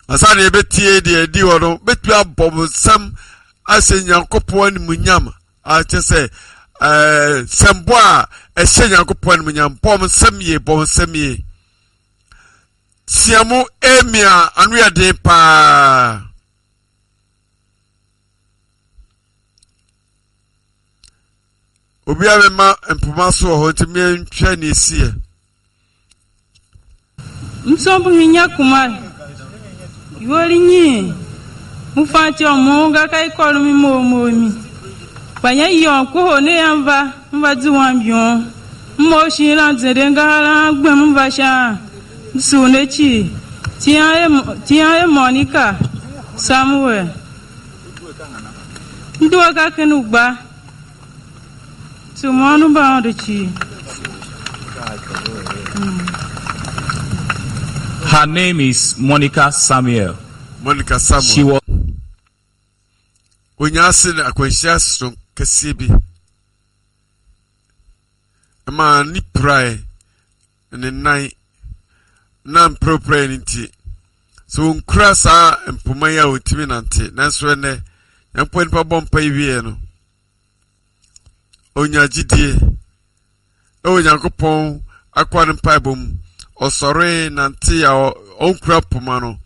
Ansa na yɛbɛtie deɛ ɛdi hɔ no, bɛtumi abɔ mo nsam ahyɛ Nyankopɔn animuonyam akyɛ sɛ ɛɛ sɛmbɔ a ɛhyɛ Nyankopɔn animuonyam. Bɔ mo nsam yie, bɔ mo nsam yie. Tia mu emia ano yɛ den paa. Obiara bɛma mpoma so wɔ hɔ nti meɛntwɛ ne ɛsiiɛ. Msombuhinya Kumar yoli nyi mufanti omunga kaikolo mimomomi panya yon kuho ne yanva mva dziwan bion mmo shila nzere ngahala gbem mva sha msunechi tiyan e Monica Samuel nduwa ka kenu gba tumonu ba chi. Her name is Monica Samuel. Monica Samuel. She was Onya ase na akwanhyia soronko kɛseɛ bi ma ne pirae ne nan na mprɛprɛ no nti sɛ wɔnkura saa mpoma yi a wɔntumi nante. Nanso ɛnɛ Nyankopɔn nipa bɔ mpa yi wieɛ no, onya gyidie ɛwɔ Nyankopɔn akoa no mpaebɔ mu. Ɔsɔre nante a ɔnkura poma no,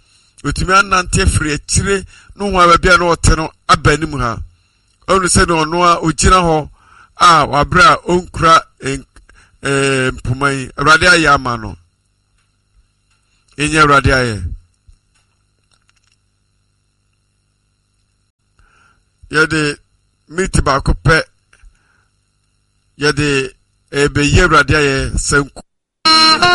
ɔtumi anante afiri akyire no ho a baabi a na ɔte no aba anim ha. Ɔnu sɛ ne ɔno a ɔgyina hɔ a wabrɛ a ɔnkura mpoma yi. Awurade ayɛ ama no. Ɛnyɛ Awurade ayɛ. Yɛde miniti baako pɛ yɛde ɛbɛyi Awurade ayɛ sanku.